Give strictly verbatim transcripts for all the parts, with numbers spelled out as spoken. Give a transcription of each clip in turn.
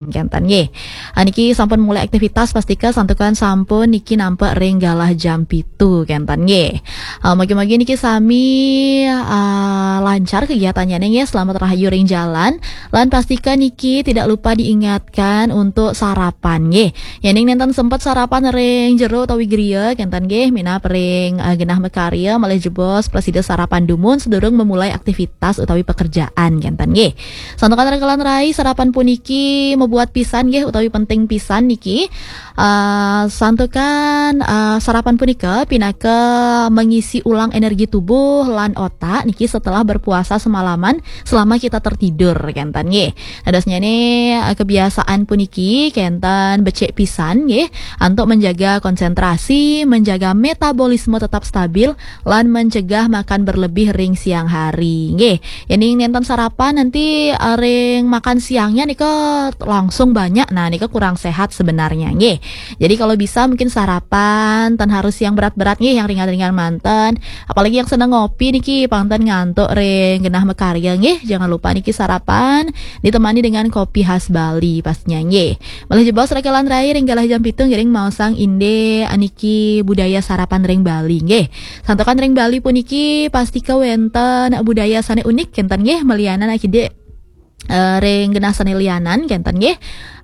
Kenten nggih. Ah, niki sampun mulai aktivitas, pastika santukan sampun niki nampek ring galah jam pitu kenten nggih. Ah, mugi-mugi niki sami ah, lancar kegiatannya nggih, selamat rahayu ring jalan. Lan pastika niki tidak lupa diingatkan untuk sarapan nggih. Yening nenten sempat sarapan ring jero utawi griya kenten nggih, minab ring ah, genah makarya malih jebos prasida sarapan dumun sedurung memulai aktivitas utawi pekerjaan kenten nggih. Santukan rekelan rai, sarapan puniki membuat pisan nggih utawi penting pisan niki. Ah, santukan ah, sarapan punika pinaka mengisi ulang energi tubuh lan otak niki setelah berpuasa semalaman selama kita tertidur kenten nggih. Dadosnyane ah, kebiasaan puniki kenten becik pisan nggih untuk menjaga konsentrasi, menjaga metabolisme tetap stabil lan mencegah makan berlebih ring siang hari nggih. Yening nenten sarapan nanti ah, ring makan siangnya nika langsung banyak. Nah, nika kurang sehat sebenarnya nggih. Jadi kalau bisa mungkin sarapan tan harus yang berat-berat nggih, yang ringan-ringan manten. Apalagi yang seneng ngopi niki, pang ten ngantuk ring genah makarya nggih. Jangan lupa niki sarapan ditemani dengan kopi khas Bali pastinya nggih. Malih jebos rekelan rai ring galah jam pitu ngiring maosang indik niki budaya sarapan ring Bali nggih. Santukan ring Bali puniki pastika wenten budaya sane unik kenten nggih, malianan akidik eh, ring genah sane lianan kenten nggih.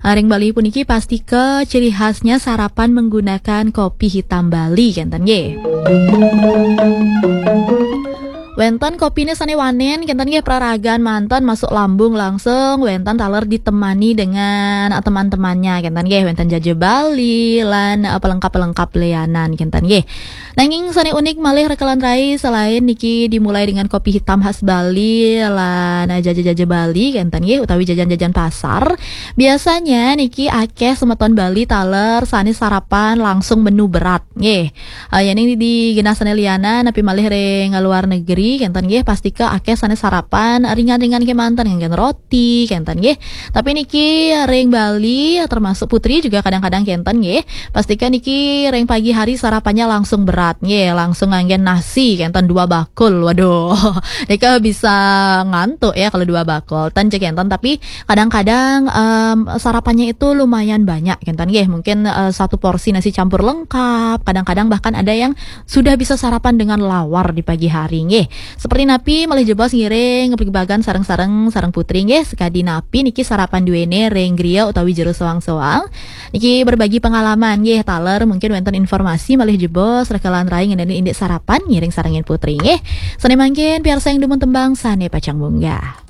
Eh, ring Bali puniki pastika ciri khasnya sarapan menggunakan kopi hitam Bali kenten nggih. Wenten kopine sane wanen kenten nggih, praragan manten masuk lambung langsung, wenten taler ditemani dengan eh, teman-temannya kenten nggih, wenten jaja Bali lan eh, pelengkap-pelengkap lianan kenten nggih. Nanging sane unik malih rekelan rai, selain niki dimulai dengan kopi hitam khas Bali lan eh, jaja-jaja Bali kenten nggih, utawi jajan-jajan pasar. Biasanya niki akeh semeton Bali taler sane sarapan langsung menu berat nggih. Eh, yening di genah sane lianan napi malih ring luar negeri kenten nggih, pastika akeh sane sarapan ringan-ringan kemanten, nganggen roti kenten nggih. Tapi niki ring Bali termasuk Putri juga kadang-kadang kenten nggih. Pastika niki ring pagi hari sarapannya langsung berat nggih, langsung nganggen nasi kenten dua bakul. Waduh, nika bisa ngantuk ya kalau dua bakul. Tan cek kenten, tapi kadang-kadang em, sarapannya itu lumayan banyak kenten nggih. Mungkin eh, satu porsi nasi campur lengkap, kadang-kadang bahkan ada yang sudah bisa sarapan dengan lawar di pagi hari nggih. Seperti napi malih jebos ngiring pagibatan sareng-sareng sareng Putri nggih, sakadi napi niki sarapan duene ring griya utawi jero soang-soang. Niki berbagi pengalaman nggih, taler mungkin wenten informasi malih jebos rekelan rai ngenani indik sarapan ngiring sarengin Putri nggih. Sane mangkin piarsayang dumun tembang sane pacang munggah.